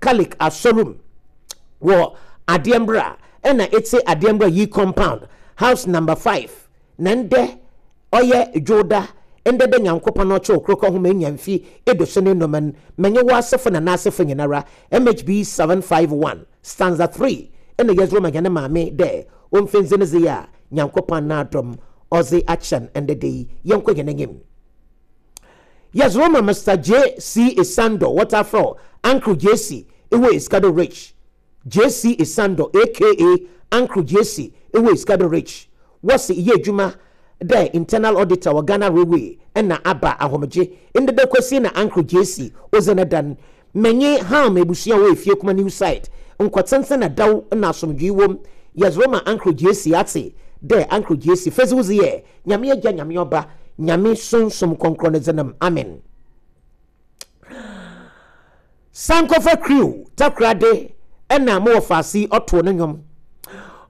Catholic Asɔr mu wɔ Adeɛmbra na etse Adeɛmbra Yi Compound, House Number 5, na ndɛ ɔyɛ Dwowda, ndɛ dɛ Nyankopɔn ɔkyɛw krokɔ ho ma enya mfe eduosuon enum n, menye wo asefo na n'asefo nyinara, MHB 751, stanza 3, nna yɛdze rema hɛn maame dɛ omfi ndze ne dze yi a Nyankopɔn n'adom ɔdze akyɛ n ndɛ da yi, yɛnkɔ hɛn enyim. Yɛdze rema Mister JC Esandor, wɔtaa frɛ wo Uncle JC, ewɔ Escado Rich. JC Esandor aka Uncle JC ewɔ Escado Rich. Wɔse eyɛ edwuma dɛ internal auditor wɔ Ghana Railway nna aba ahomgye. Ndɛ da Kwesi na Uncle JC odzi ne da n'. Menye Ham ebusua a wɔwɔ Efiekuma New Site nkɔtsentsen na dɛw na asomdwee wɔ mu. Yɛdze rema Uncle JC atse dɛ Uncle JC fedzi wo dze yɛ Nyame Agya, Nyame Ɔba, Nyame Sunsum Krɔnkrɔn ne dze no m'. Amen. Sankofa Crew Takoradi na mo wɔfaase yi ɔtoo no nwom.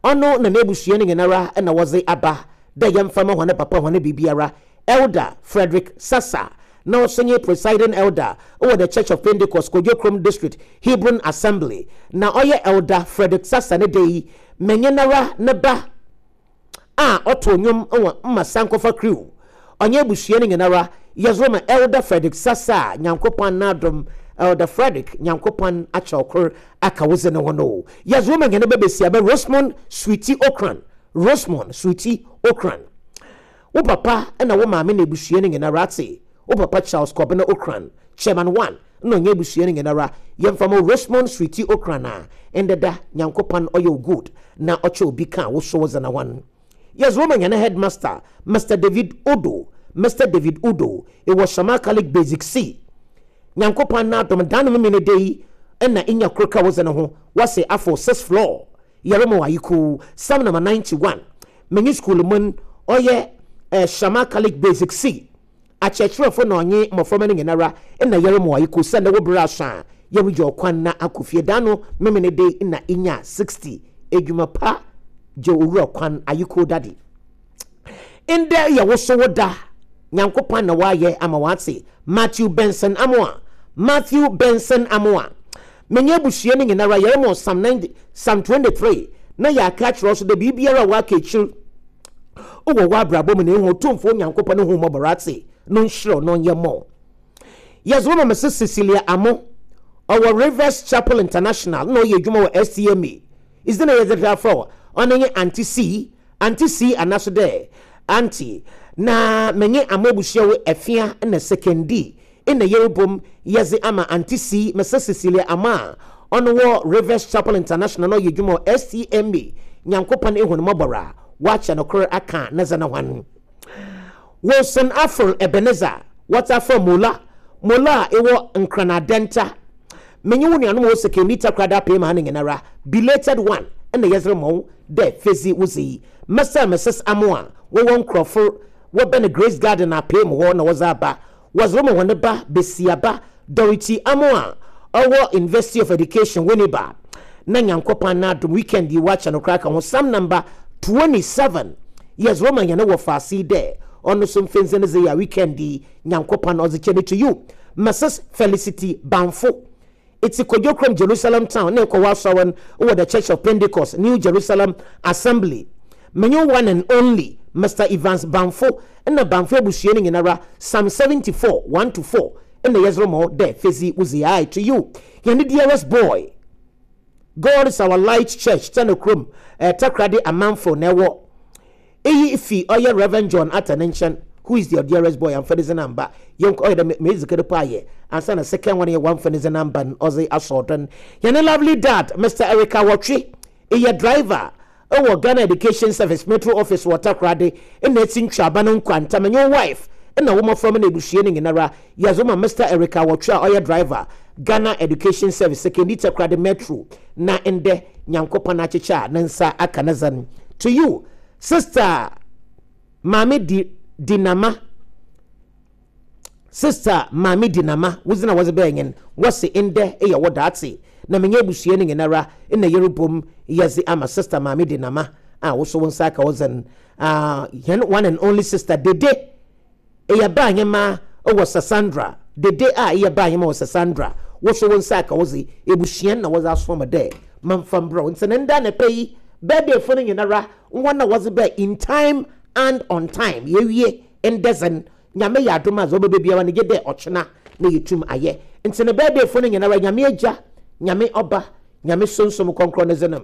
Ɔno na n'ebusua no nyinara na wɔdze aba dɛ yɛmfa ma hɔn papa hɔn biribiara, Elder Frederick Sasa na ɔso nye Presiding Elder wɔ The Church of Pentecost Kwadwo District Hebron Assembly. Na ɔyɛ Elder Frederick Sasa ne da yi, menye noara ne ba a ɔtow nwom wɔ mma Sankofa Crew. Ɔnye ebusua no nyinara yɛdze rema Elder Frederick Sasa a Nyankopɔn n'adom Elder Frederick Nyankopɔn akyɛw kor aka wo dze no ho no. Yɛdze rema hɛn ba basiaba Rosemond Sweetie Ocran, Rosemond Sweetie Ocran. Wo papa na wo maame na ebusua no nyinara atse wo papa Charles Kɔbena Ocran, Chairman One, na ɔnye ebusua no nyinara yɛmfa ma wo Rosemond Sweetie Ocran a ndɛ da Nyankopɔn ɔyɛ wo good na ɔkyɛ obi kã wo so wo dze na hɔn. Yɛdze wo ma hɛn Headmaster Mister David Udo, Mister David Udo, ewɔ Shama Catholic Basic C. Nyankopɔn n'adom da no Memeneda yi na inya kor ka wo dze no ho, wɔse afow sixth floor. Yɛrema wo ayekoo. Psalm number 91. Menye skuul mu n ɔyɛ eh, Shama Catholic Basic C. Akyerɛkyerɛfo na ɔnye mboframba no nyinara nna yɛrema wo ayekoo sɛ ndɛ wo ber aso a yɛregya ɔkwan na akɔ fie. Da no Memenede nna inya 60. Edwuma pa gya owura kwan ayekoo daddy. Ndɛ yɛ wo so wo da. Nyankopɔn na ɔayɛ ama wɔatse. Matthew Benson Amoah Matthew Benson Amoah Menye ebusua no nyinara yɛromɔ Psalm 90, Psalm 23 na yɛaka akyerɛ wo so dɛ biribiara a ɔaka ekyir wɔ w'abrabɔ mu no ehu Otumfoɔ Nyankopɔn n'ehumbɔbɔr atse no nhyira wo na ɔnyɛ mma wo. Yɛdze wo ma Mrs Cecilia Amo, ɔwɔ Rivers Chapel International na ɔyɛ edwuma wɔ STMA. Idzi na yɛdze hwɛ afrɛ wo, ɔno nye Auntie C, Auntie C anaaso dɛ Auntie, na menye Amo ebusua wo Afia na Sekondi nna yerobɔ mu yɛdze ama Auntie C, Mrs Cecilia Amo a ɔno wɔ Rivers Chapel International na ɔyɛ edwuma wɔ STMA, Nyankopɔn ehu no mɔbɔr a ɔakyɛ no kor akã ne dze no ho. Wilson Aful Ebenezer, wɔtaa frɛ Mola, Mola a ewɔ Nkran Adenta. Menye wo nuanom a wɔwɔ Sekondi Takoradi Apem ha no nyinara, belated one na yɛdze rema wo dɛ fedzi wo dze yi. Mr and Mrs Amoah wɔwɔ Nkorɔfor wɔbɛn Grace Garden Apem hɔ na wɔdze aba. Wɔdze rema hɔn ba basiaba Dorothy Amoah a ɔwɔ University of Education Winneba. Na Nyankopɔn n'adom weekend yi wɔakyɛ no koraa ka ho Psalm number 27 yɛdze rema hɛn wɔfaase yi dɛ ɔno so mfendze ne dze yi a weekend yi Nyankopɔn ɔdze kyɛ no to you Mrs Felicity Banfo Itse Kwadwo Jerusalem Town na ekɔ w'asɔr no wɔ The Church of Pentecost, New Jerusalem Assembly. Menye wo one and only Mister Evans Bamfo na Bamfo ebusua no nyinara, Psalm 74, 1 to 4 na yɛdze rema wo dɛ fedzi wo dzi ae to you hɛn dearest boy. God is our light church Tɛnokurom, eh, Takoradi Amanfo na ɛwɔ. Iyi fi ɔyɛ Rev. John Arthur ne nkyɛn, who is your dearest boy, ammfa ne dzin ammba. Yɛnkɔ, ɔyɛ dɛ medzi kan mpo ayɛ ansaana second one yɛ wɔammfa ne dzin ammba no ɔdze asɔw do no. Hɛn lovely dad, Mister Eric Awɔtwe, eyɛ driver wɔ Ghana Education Service Metro Office wɔ Takoradi nna etsi ntweaba no nkwanta. Menye wo wife na wo mboframba na ebusua no nyinara yɛdze wo ma Mister Eric Awɔtwe a ɔyɛ driver, Ghana Education Service, Sekondi Takoradi Metro na ndɛ Nyankopɔn akyekyɛ a ne nsa aka ne dze no. To you, Sister Maame Di Dinama, Sister Maame Dinama, wo dzin a wɔdze bɛɛ nye no, wɔse ndɛ eyɛ wo daatse na menye ebusua no nyinara nna yerobɔ mu yɛdze ama Sister Maame Dinama a wo so wo nsa aka wo dze no. Ah, hɛn one and only sister Dede. Eyɛ baa hɛmba wɔ Sassandra. Dede a eyɛ baa hɛmba wɔ Sassandra. Wo so wo nsa aka wo dze, ebusua no na wɔdze asoa me dɛ mamfa mbrɛ wo. Ntsi no ndɛ anapa yi, birthday fo no nyinara, hɔn a wɔdze bae in time and on time, yeewie ndɛ dze no, Nyame yɛ adom a dza ɔbɛba biara no gyedɛ ɔkyena na yetum ayɛ. Ntsi no birthday fo no nyinara, Nyame Egya, Nyame Ɔba, Nyame Sunsum Krɔnkrɔn ne dze no.